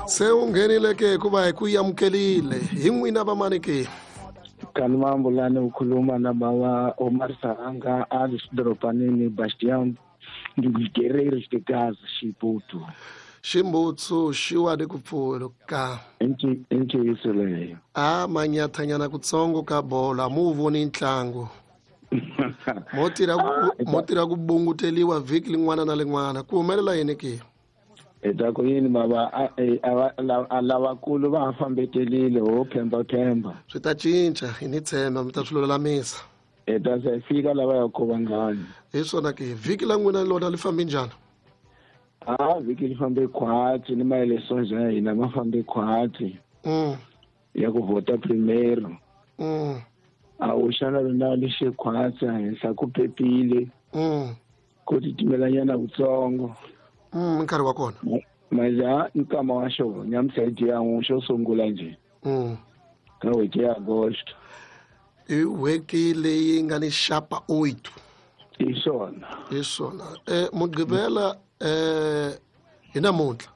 Se u nghenile ke hikuva hi ku yamukelile hi n'wina vamani ke? Kani Mambulani ukhuluma na baba Omar Saranga ali xidorobanini Bastian Guerreiros de Gaza Xiputu. Ximbutsu xiwa ni ku pfuluka. I ntiyiso leyo. A manyathanyana kutsongo ka bolo a mu voni ntlangu. Mo tirha ku bunguteliwa vhiki lin'wana na lin'wana. Ku humelela yini ke? Hi ta ku yini baba a lavakulu va ha fambetelile ho phemba phemba. Swi ta cinca hi ni tshemba mi ta swi lulamisa. Hi ta se fika lava ya ko vangani. Hi swona ke vhiki la n'wina lona li fambe njhani? A vhiki li fambe khwatsi ni maeleções ya hina ma fambe khwatsi. Ya ku vhota primeiro. A wu xana lona li xe khwatsi henhla ku pepile. Ku titimelanyana kutsongo. Nkarhi wa kona. Maja nkama wa xona nyamutlha hi dya n'we xo sungula njhe. Ka n'hweti ya Agosto. I n'hweti leyi nga ni xapa 8. Hi swona. Hi swona. Mugqivela hi namuntlha.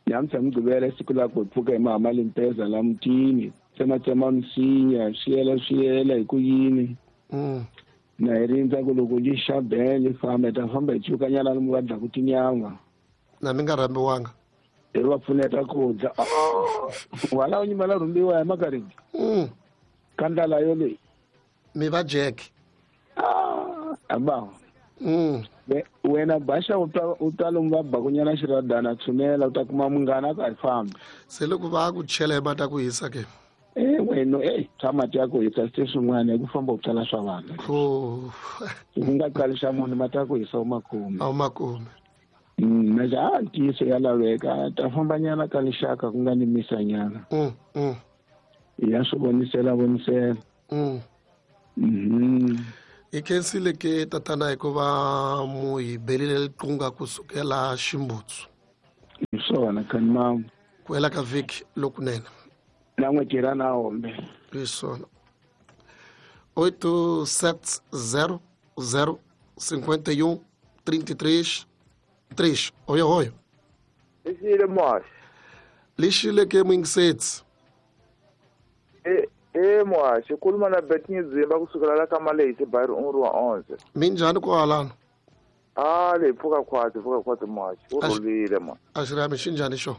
Nyamutlha Mugqivela siku la ku pfuka hi mahama limpeza la mutini. Tsematsema misinya, swiyela swiyela hi ku yini. Na hi rindza ku loko li xa bele famba hi ta famba hi cukanyana lomu va dlaku tinyama. Na mi nga rhambiwanga. Hi va pfuneta ku dya. Wala u nyimela rhumbiwa hi makarini. Ka ndlala yoleyi. Mi va Jack. Aba. Wena baxa u twa lomu va bakunyana xiradana tshunela u ta kuma munghana ka hi famba. Se loko va ku chela hi mati ya ku hisa ke? Wena swa mati ya ku hisa swi swin'wana hi ku famba u tsala swa vanhu. U nga qali xa munhu mati ya ku hisa u ma kumi. A wu ma kumi. Manje a ntiyiso ya laveka ta fambanyana ka lixaka ku nga ni misanyana. Ya swi vonisela vonisela. Hi khensile ke tatana hikuva mu hi belile liqunga kusukela ximbutsu. Hi swona kani mama. Ku hela ka vhiki lokunene. Na n'wi tirha na hombe. Hi swona. 8 7 0 0 51 33 3. Oyo oyo. Lexile muhaxi. Lexile ke muyingisetsi. Muhaxi khuluma na Betty Dzimba kusukela la ka Malehisi Bayiri un'we wa 11. Minjhani kwalano? A le pfuka khwatsi muhaxi. U rhulile ma. A xirhami xi njhani xo?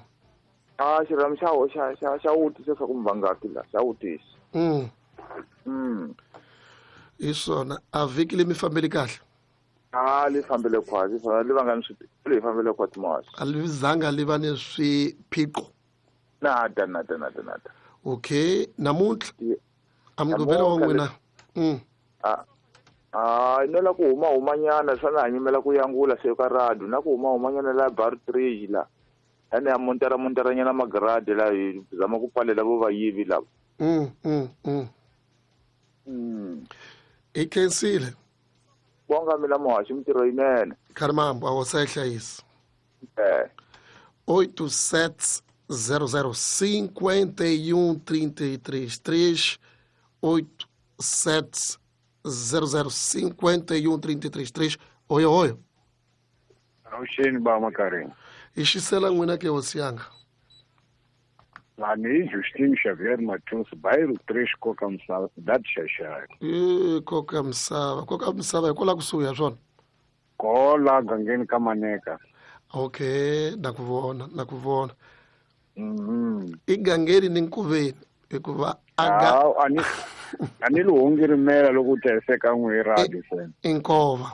A xirhami xa wutisa swa ku mvangaki la, xa wutisa. Hi swona a vhiki le mi fambeli kahle? A li fambele khwatsi, li va nga ni swi li fambele khwatsi muhaxi. A li zanga li va ni swiphiqo? Nada nada nada nada. Okay, namuntlha a Mugqivela wa n'wina. A no la ku huma humanyana swa na hanyimela ku yangula se ka radio na ku huma humanyana la bar 3 la. Ene ya montera monteranyana magrade la hi zama ku pfalela vo vayivi lava. I khensile. Bonga mina muhaxi mintirho yinene. Kharimambo a wo sa hlayisa. 8 7 0 0 51 33 3 8 7 0 0 51 33 3. Oyo oyo. Awuxeni ba makarini. Hi xisela n'wina ke hosi yanga. Lani Justin Xavier Matusi Bayiro 3 Koka Misava cidade Xaxai. Koka Misava, Koka Misava hi kwala kusuhi ya swona. Kola gangeni ka Maneka. Okay, na ku vona, na ku vona. I gangeni ni nkoveni hikuva a ni lihongirimela loko u teheseka n'we radio se. I nkova.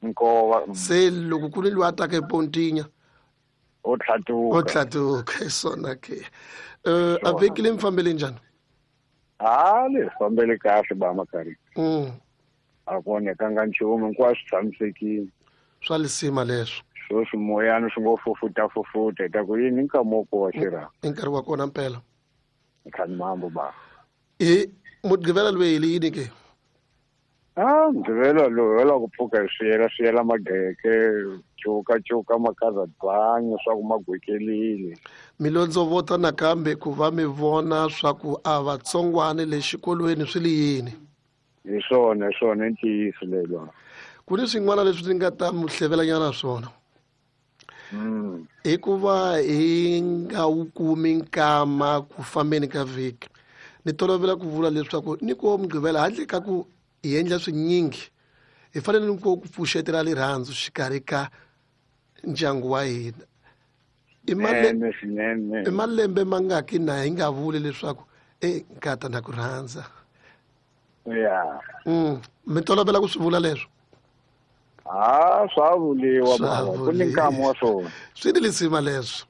Nkova. Se loko ku ri loyi a taka epontinya o tlhatuka. O tlhatuka hi swona ke. A vhiki le mi fambele njhani? A le fambele kahle ba makari. A ku onhekanga nchumu hinkwaswo tshamisekile. Swa lisima leswo. Sweswi moyani swi ngo fufuta fufuta hi ta ku yini nkama wo kowa xirha. I nkarhi wa kona mpela. Nkhani mambo ba. I Mugqivela loyi hi yini ke? A Mugqivela loyi wa la ku pfuka hi swiyela swiyela mageke cuka cuka makaza byanyi swa ku magwekelile. Mi londzovota nakambe ku va mi vona swa ku a vatsongwani le xikolweni swi li yini. Hi swona hi swona i ntiyiso lelo. Ku ni swin'wana leswi ni nga ta mi hlevelanyana swona. Hikuva hi nga wu kumi nkama ku fambeni ka vhiki, ni tolovela ku vula leswaku ni ku Mugqivela handle ka ku hi endla swinyingi, hi fanele ni ku pfuxetela rirhandzu xikarhi ka ndyangu wa hina. I malembe mangaki na hi nga vuli leswaku e nkata na ku rhandza? Ya. Mi tolovela ku swi vula leswo? Ha, swa vuliwa baba, ku ni nkama wa swona. Swi ni lisima leswo.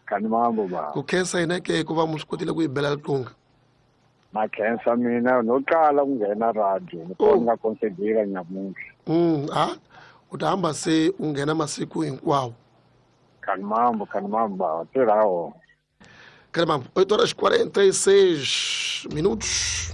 Kani mambo baba. Ku khensa hina ke ku va mu swi kotile ku yi bela riqingho. Na khensa mina no qala ku nghena radio, ni kona nga considera nyamuntlha. Ha, u ta hamba se u nghena masiku hinkwawo. Kani mambo, kani mambo baba, tirha wona. Kani mambo, 8 horas 46 minutos.